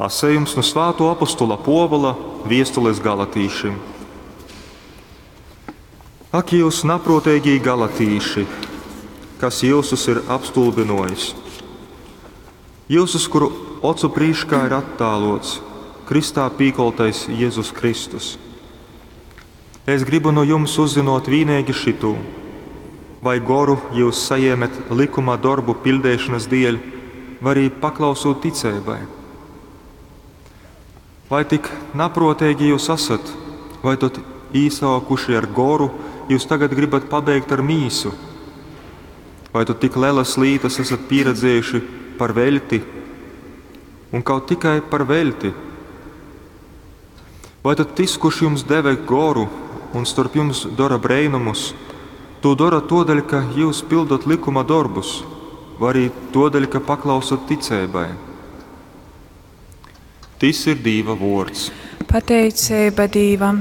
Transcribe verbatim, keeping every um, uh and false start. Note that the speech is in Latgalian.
Lasejums nu Svātuo apostola Puovula viestules galatīšim. Ak jyus napruoteigī galatīši, kas jyusus ir apstulbynojis? Jyusus, kuru ocu prīškā ir attāluots krystā pīkoltais Jezus Kristus. Es grybu nu jums uzzynuot vīneigi šytū: vai goru jyus sajēmet lykuma dorbu piļdeišonys dieļ, vai arī paklausūt ticeibai? Vai tik napruoteigi jyus asat, vai tod īsōkuši ar goru, jyus tagad grybat pabeigt ar mīsu? Vai tod tik lelas lītas asat pīredzējuši par veļti, un kaut tikai par veļti? Vai tad tys, kurš jums deve goru un storp jums dora breinumus, tū dora tōdēļ, ka jyus pyldot lykuma dorbus, vai arī tōdēļ, ka paklausot ticeibai? Tys ir Dīva vuords. Pateiceiba Dīvam.